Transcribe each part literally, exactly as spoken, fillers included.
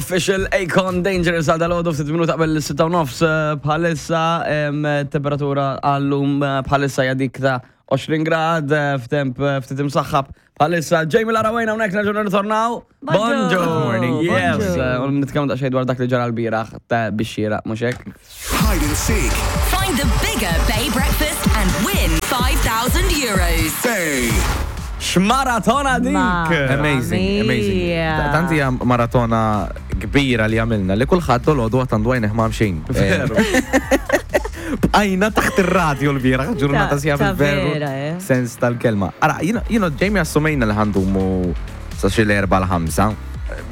Official Akon Dangerous għal dalgħodu ftit minuta qabel is-sitta u nofs eh, bħalissa em, temperatura għallum eh, bħalissa hija dik ta' għoxrin grad eh, f'temp eh, ftit imsaħħab bħalissa. Jamie Larawejna hawnhekk nerġgħu nirritornaw. Bonġu. Good morning. Yes, Bonġu. eh, u nitkellmu daqsxejn dwar dak li ġara l-bieraħ ta' bixxira, mhux hekk? Hide and seek. Find the bigger Bay Breakfast and win five thousand euros. Bay. X'maratona dik! Ma- Amazing, amazing. Mia. Ta- Tant hija maratona kbira li għamilna li kulħadd dalgħodu għad għandu għajnejh mgħammxin. Veru. Bqajna taħt ir-radio l-bieraħ, ġurnata Ta- sija ta' bil-veru vera, eh. sens tal-kelma. Ara, jiena, Jamie, assumejna li ħa ndumu sa xi l-erba l-ħamsa.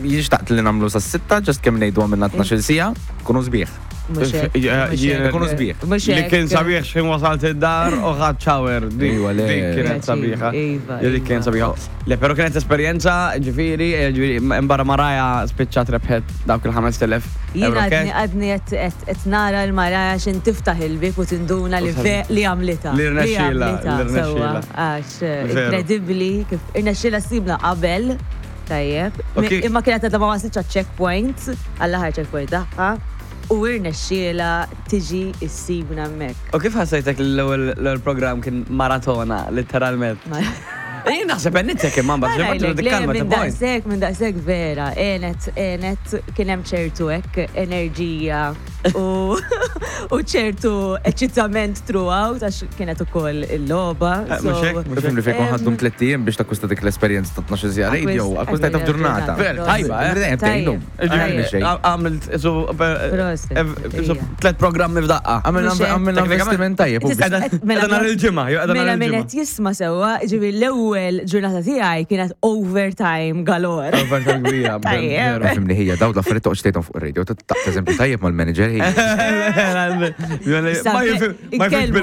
Jien xtaqt li nagħmlu sa sitta, just kemm ngħidu għamilna tnax-il siegħa, kunu sbieħ. Mhux hekk, mhux hekk. Ikunu sbieħ. Mhux Li hekk. kien sabiħ x'ħin wasalt id-dar u ħadt shower. Dik Iva, le. dik kienet sabiħa. Iva, Dik kienet iva. sabiħa. Le, pero kienet esperjenza, ġifieri, eh, ġifieri, imbara Maraja spiċċat rebħet dawk il-ħamest elef Jiena euro għadni cash. għadni qed nara l-Maraja xin tiftaħ il-bib u tinduna li ve li għamlita. Li rnexxielha, għamlitha, li rnexxielha. sewwa, għax eh, Veru. inkredibbli kif irnexxielha ssibna qabel. Tajjeb. U kif- Imma kienet għadha ma waslitx għaċ-checkpoint, għall-aħħar checkpoint tagħha, u irnexxielha tiġi issibna hemmhekk. U kif ħassejtek li l-ewwel l-ewwel program kien maratona, literalment? Ma- Jien naħseb għennitek imma mbagħad Għalek, le, kalma minn ta' point. daqsek, minn daqsek vera, enet, enet, kien hemm ċertu hekk enerġija u u ċertu eċitament throughout, għax kienet ukoll il-logħba. Eh, mhux hekk, mhux Ifhem li fejn Em, ħa ddum tlett ijiem biex takkwista dik l-esperjenza ta' tnax-il siegħa radio, Akkwist- akkwistajta f'ġurnata. Ver, tajba, eh? Tajjeb. Tajjeb. Għamilt, isu, Proset, isu, ija. tlet programmi f'daqqa. Għamilna Mhux hekk. għamilna investiment tajjeb. u Tista' biex- mela- Edha nhar il-Ġimgħa, jew edha nhar Mela min il-Ġimgħa. qed jisma' sewwa, ġifieri l-ewwel ġurnata tiegħi kienet overtime galore. Overtime kbira. Tajjeb. Veru. Fimni ħija, daw l-affarijiet toqgħodx tgħidhom fuq ir-radio, ta' eżempju tajjeb mal-manager ħija. Ma jifhem ma jifhem.